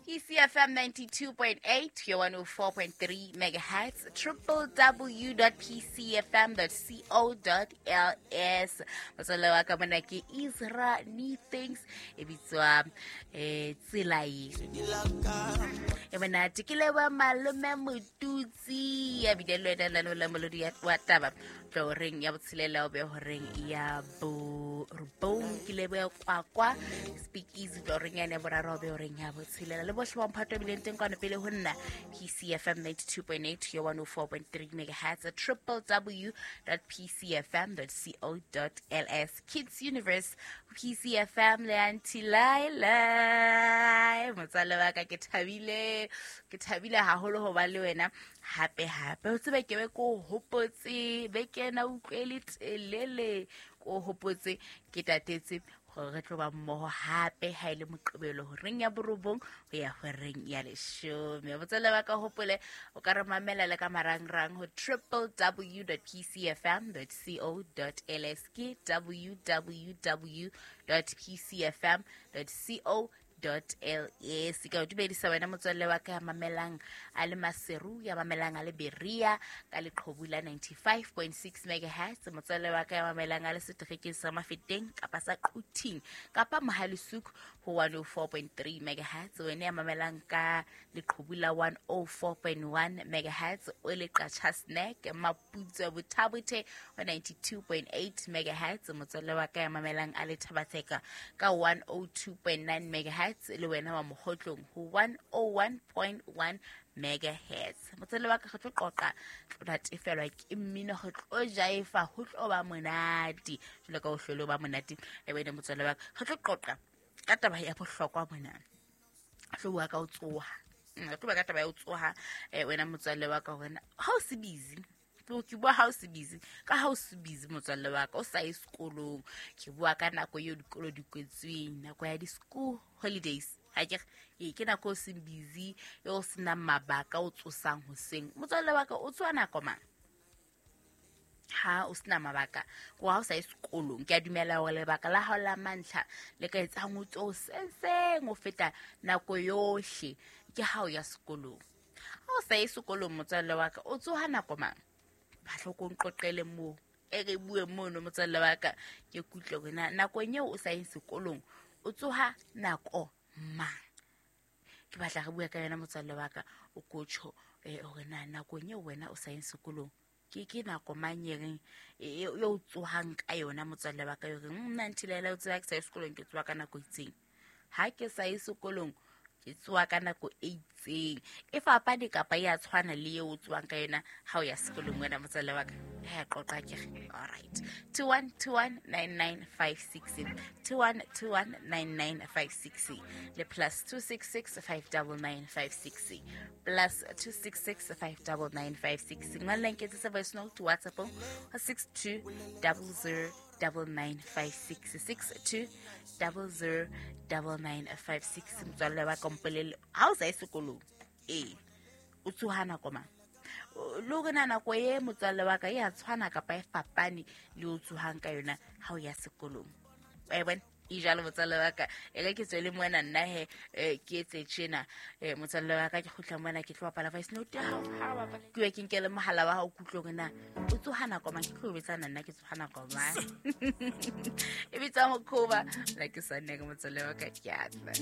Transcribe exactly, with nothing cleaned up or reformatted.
P C F M ninety-two point eight, your one oh four point three megahertz, triple w dot p c f m dot c o dot l s. Motswalle wa ka mona ke Ezra Things e bitswa eh tsela e. E monate ke leboha malome Motutsi ya bile le wena lano la molodi wa taba tlo reng ya botshelela o be horeng ya borobong ke leboha kwakwa speak easy tlo reng ya boraro o be horeng ya botshelela le bohle ba mphato bileng teng kwano pele ho nna P C F M ninety-two point eight your one oh four point three megahertz triple w dot p c f m dot c o dot l s Kids Universe P C F M le Auntie Laila motswalle wa ka ke thabile ke thabile haholo ho ba le wena hape hape o tsebe ke be ko hopotse beke ena utlwele telele ko hopotse ke tatetse gore re tlo ba mmoho hape ha ile moqebelo horeng ya borobong ho ya horeng ya leshome. Motswalle wa ka hopole o ka re mamela le ka marangrang ho triple w dot p c f m dot c o dot l s ke w w w dot p c f m dot c o dot l s. Ka o dumedisa wena motswalle wa ka ya mamelang a le Maseru, ya mamelang a le Berea ka leqhubu la ninety-five point six megahertz, motswalle wa ka ya mamelang a le seterekeng sa Mafeteng kapa sa Quthing kapa Mohalesuku ho one oh four point three megahertz, wena ya mamelang ka leqhubu la one oh four point one megahertz o le Qacha Snack Maputso Bothabothe ho ninety-two point eight megahertz, motswalle wa ka ya mamelang a le Thabatseka ka one oh two point nine megahertz le wena wa Mohotlong ho one oh one point one megahertz. Motswalle wa ka re tlo qoqa tlo natefelwa ke mmino re tlo jaifa ho tlo ba monate jwalo ka ho hlole ba monate e wena motswalle wa ka re tlo qoqa ka taba ya bohlokwa mona tlo bua ka ho tsoha re tlo bua ka taba ya ho tsoha eh wena motswalle wa ka hore ha o se busy ke bua ha o se busy ka ha o se busy motswalle wa ka o sa ye sekolong ke bua ka nako eo dikolo di kwetsweng nako ya di-school holidays ha ke e ke nako o seng busy eo o senang mabaka o tsosang hoseng motswalle wa ka o tsoha nako mang ha o sena mabaka ko ha o sa ye sekolong ke a dumela hore lebaka la hao la mantlha le ka etsang o tso senseng o feta nako yohle ke ha o ya sekolong ha o sa ye sekolong motswalle wa ka o tsoha nako mang batla ko nqoqele moo e re bue mono motswalle wa ka ke kutlwe hore na nakong eo o sa yeng sekolong o tsoha nako mang ke batla re bue ka yona motswalle wa ka o kotjho hore na nakong eo wena o sa yeng sekolong ke ke nako mang e reng eo o tsohang ka yona motswalle wa ka e reng nna Ntilaela o tseba ke sa ye sekolong ke tsoha ka nako e itseng ha ke sa ye sekolong ke tsoha ka nako e itseng e fapane kapa ya tshwana le eo o tsohang ka yona ha o ya sekolong wena motswalle wa ka ha qoqa ke re all right two one two one nine nine five six two one two one nine nine five six le plus two six six five nine nine five six plus two six six five nine nine five six ngwallang ke tsa voice note WhatsApp six two zero zero double nine five six six two double zero double nine five six motswalle wa kompolele ha o sa ye sekolong ee o tsoha nako mang le hore na nako e motswalle wa ka e a tshwana kapa e fapane le o tsohang ka yona ha o ya sekolong wa e bona e jalo motswalle wa ka e re ke tswele mona nna he ke etse tjena motswalle wa ka ke kgutla mona ke tlo bapala voice note ya hao ha bapala ke ye ke nkele mohala wa hao kutlwe hore na o tsoha nako mang ke tlo betsana nna ke tsoha nako mang e bitsa mokhoba la ke sa nne ke motswalle wa ka ke a tla.